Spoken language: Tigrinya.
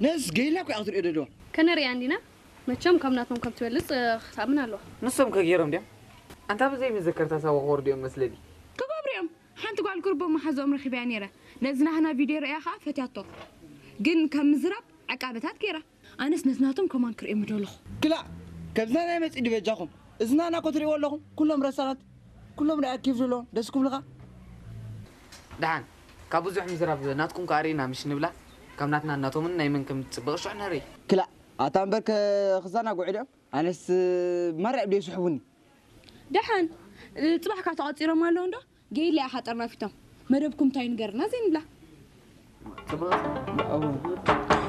ነስ ገይላ እኮ እያ ክትሪኦ ደለዋ። ከነርእያ እንዲና። መቸም ካብ ናቶም ከም ትበልጽ እ፣ ክትኣምን ኣለዋ። ንሶም ከገይሮም ድዮም? ኣንታ ብዘይ መዘከርታ ሳዋ ክወርዱ እዮም መስለኒ። ክገብሩ እዮም። ሓንቲ ጓል ቁርቦ መሓዝኦም ረኺበያ ነይረ። ነዚ ናህና ቪድዮ ርእያ ኸዓ ፈትያቶ። ግን ካብ ምዝራብ ዕቃበታት ገይራ። ኣነስ ነዝናቶም ከማን ክርእዮም ምደለኹ። ክላእ፣ ከብዝና ናይ መጽኢ ድበጃኹም። እዝና ናኮ ትርእይዎ ኣለኹም። ኩሎም ረሳናት። ኩሎም ርኣያ ኬፍ ዘለዎም። ደስ ክብልኻ። ደሓን ካብ ብዙሕ ምዝራብ ናትኩም ከኣ ርኢና ምሽ ንብላ። ካብ ናትና ናቶምን ናይ መን ከም ትጽብቕ ሽዑ ንርኢ። ክላእ፣ ኣታ እምበር ከ-፣ ክዛናግዑ ድዮም? ኣነስ ማርያ ድዮ ይስሕቡኒ። ደሓን እ፣ ጽባሕ ካብ ተቐጺሮም ኣለዉ እንዶ? ገይላ ኢኻ ጠርናፊቶም። መደብኩም እንታይ ንገርና ዘይንብላ። ጽብቕ